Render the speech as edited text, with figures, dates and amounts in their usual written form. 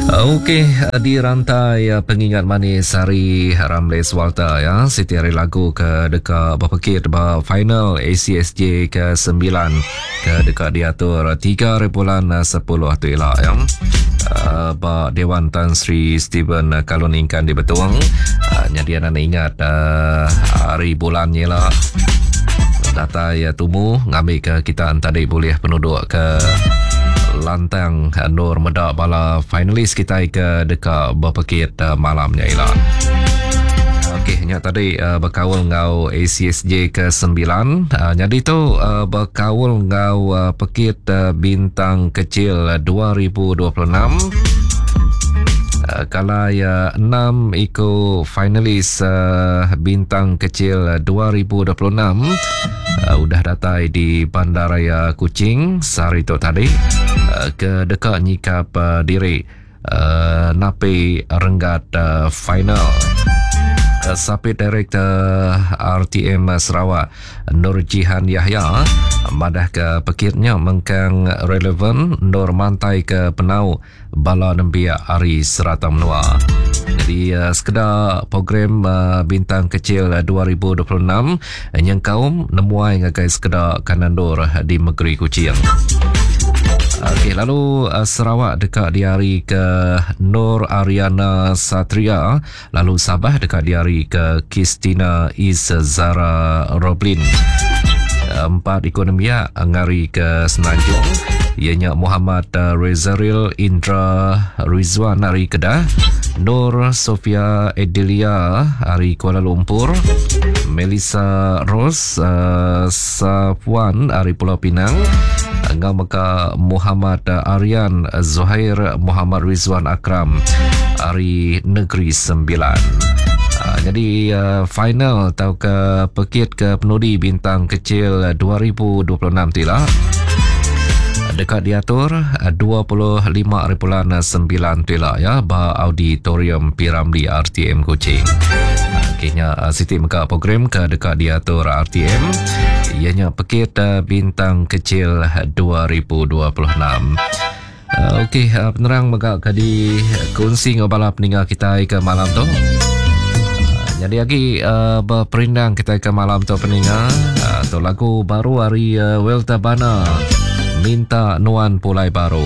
Okey, di rantai pengingat manis hari Ramles Walter ya, siti hari lagu ke deka bepekit ba final ACSJ ke 9 ke deka diatur 3 hari bulan 10 tu ila ya. Uh, ba Dewan Tan Sri Stephen Kalun Ingkan di Betong. Uh, nyadi anak ingat uh, hari bulan ni lah. Datai uh, tumu ngambil ke kita tadi boleh penduduk ke lantang Nur meda bala finalis kita ke deka berpekit uh, malamnya ila. Okey, nya tadi uh, berkaul enggau ACSJ ke-9. Uh, jadi tu uh, berkaul enggau uh, pekit uh, bintang kecil 2026. Uh, kalau ya 6 iku finalis uh, bintang kecil 2026 uh, udah datai di Bandaraya Kuching sehari tu tadi uh, ke deka nyikap uh, diri uh, napi renggat uh, final. Uh, Sapit Direktor RTM Sarawak Nur Jihan Yahya madah ke pekitnya mengkang relevan Nur mantai ke penau bala nembiak ari serata menua. Jadi uh, sekeda program uh, Bintang Kecil 2026 nyengkaum nemuai ngagai sekeda kanandur di Negeri Kuching. Okey, lalu uh, Sarawak deka diari ke Nur Ariana Satria, lalu Sabah deka diari ke Kistina Izzara Roblin. Empat iku nembiak ngari ke Semenanjung iya nya Muhammad Rezaril Indra Rizwan ari Kedah, Nur Sofia Edelia ari Kuala Lumpur, Melissa Rose uh, Safuan ari Pulau Pinang enggau mega Muhammad Aryan Zuhair Muhammad Rizwan Akram ari Negeri Sembilan. Uh, jadi uh, final atau ke pekit ke penudi bintang kecil 2026 tila deka diatur 25 hari bulan 9 tila ya ba auditorium Piramli RTM Kuching. Okey nya siti mega program ke deka diatur RTM ianya pekit bintang kecil 2026. Okey penerang mega ke dikunsi enggau bala peninga kitai ke malam tu. Jadi agi uh, berperindang kita ke malam tu peninga uh, tu lagu baru hari uh, Welta Bana minta nuan pulai baru.